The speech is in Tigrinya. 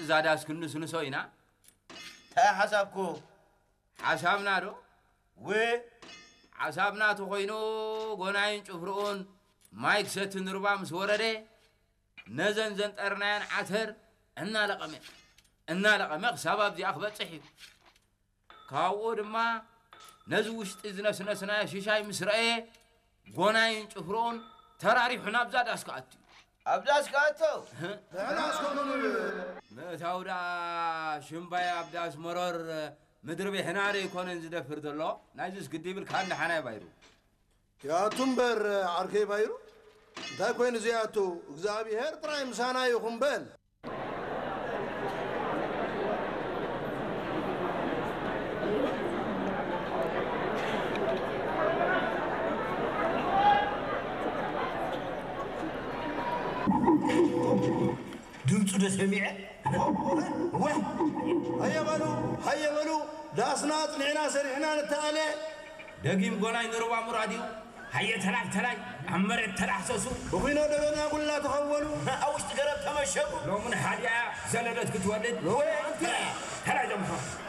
እዛ ዳስ ክንስንሶ ኢና። እንታይ ሓሳብኩ? ሓሳብና ዶ? ው ሓሳብና ተኾይኑ፣ ጎናይን ጭፍርኡን ማይ ክሰቲ ንርባ ምስ ወረደ፣ ነዘን ዘንጠርናየን ዓተር እናለቐመ እናለቐመ ክሳብ ኣብዚኣ ክበጽሕ እዩ። ካብኡ ድማ ነዚ ውሽጢ ዝነስነስናዮ ሽሻይ ምስ ረኣየ፣ ጎናይን ጭፍርኡን ተራሪሑ ናብዛ ዳስ ክኣቱ እዩ። ኣብ ዳስ ክኣቶ? ንሕና እስከ ምእታው ደኣ ሽምባይ ኣብ ዳስ መሮር ምድሪ ቤሕና ዶ ኣይኮነን ዝደፍር ዘሎ? ናይዚስ ግዲ ይብልካ እንደ ሓናይ ባይሩ። ያቱ እምበር ዓርከይ ባይሩ፣ እንታይ ኮይኑ ዘይኣቱ? እግዚኣብሔር ጥራይ ምሳና ይኹን በል። ድምፁ ዶ ሰሚዐ? ወይ! ሃየ በሉ፣ ሃየ በሉ፣ ዳስና ኣጽኒዕና ሰሪሕና ንተኣለ። ደጊም ጎናይ ንርባ ሙራድ እዩ። ሃየ ተላይ ተላይ፣ ኣብ መሬት ተላህሰሱ። ብኹኖ ደበና ጉላ ተኸወሉ። ኣብ ውሽጢ ገረብ ተመሸጉ። ሎሙን ሓዲኣ ዘለደት ክትወልድ። ወይ ኣንቲ! ተላይ ዶ ምኾን?